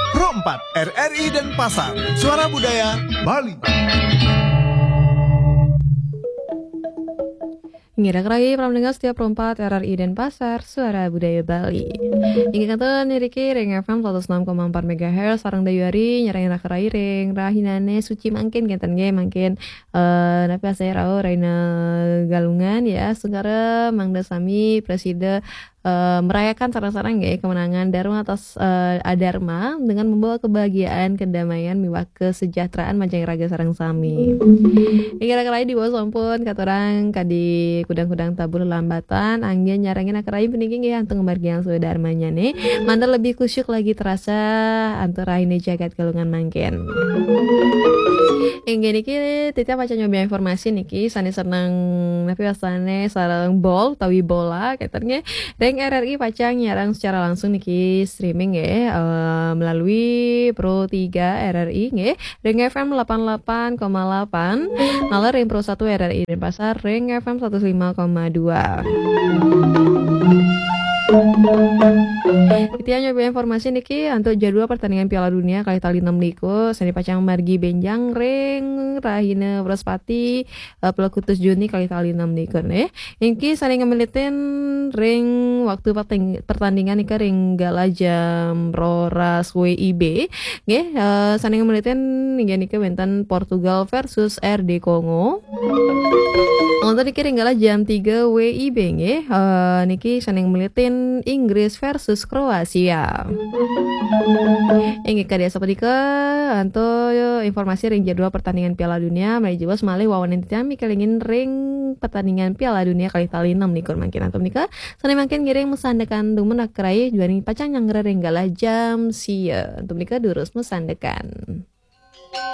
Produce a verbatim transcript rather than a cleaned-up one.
Pro empat, R R I Denpasar, Suara Budaya Bali. Ngirak rai pramdengah setiap Pro empat R R I Denpasar, Suara Budaya Bali. Inggih kantun niriki ring F M seratus enam koma empat megahertz, sareng dayuari nyarengin rai ring rahinane suci mangkin, kenten nggih, mangkin, eh, napi asai rauh rahina Galungan ya, sungkara mangda sami prasida eh, merayakan sareng-sareng nggih kemenangan Dharma atas, eh, Adharma dengan membawa kebahagiaan, kedamaian, miwah kesejahteraan majeng raga sareng sami. Inggih rai diwasa sampun katurang kadi kudang-kudang tabuh lelambatan, anggén nyarengin rai puniki nggih antuk ngamargiang swadharmanyane, manten lebih khusyuk lagi terasa antuk rahina jagat Galungan mangkin. Inggih niki titiang pacang nyobi informasi niki, sane seneng napi wastane sareng bol utawi bola, kenten nggih. Ring R R I pacang nyarang secara langsung niki streaming nggih, eh, melalui Pro tiga R R I nggih, ring F M delapan delapan koma delapan, naler ring Pro satu R R I Denpasar ring F M seratus lima koma dua. Titiang nyobi informasi niki antuk jadwal pertandingan Piala Dunia kalih tali enam likur, sane pacang margi benjang ring rahina Wrespati, eh, Plekutus Juni kalih tali enam likur nggih. Niki sane ngemilitin ring waktu perting-, pertandingan nika ring galah jam roras W I B. Nggih, eh, sane ngemilitin inggih nika wenten Portugal versus R D Kongo. Wonten niki ring galah jam tiga W I B nggih. Eh, niki sane ngemilitin Inggris versus Kroasia. Inggih kadi asapunika antuk informasi ring jadwal pertandingan Piala Dunia, malih jiwas malih wawanin titiang mikelingin ring pertandingan Piala Dunia kalih tali enam likur mangkin. Antuk nika, sane mangkin ngiring masandekan dumun rai, juaning pacang nyanggra ring galah jam sia. Antuk nika durus masandekan.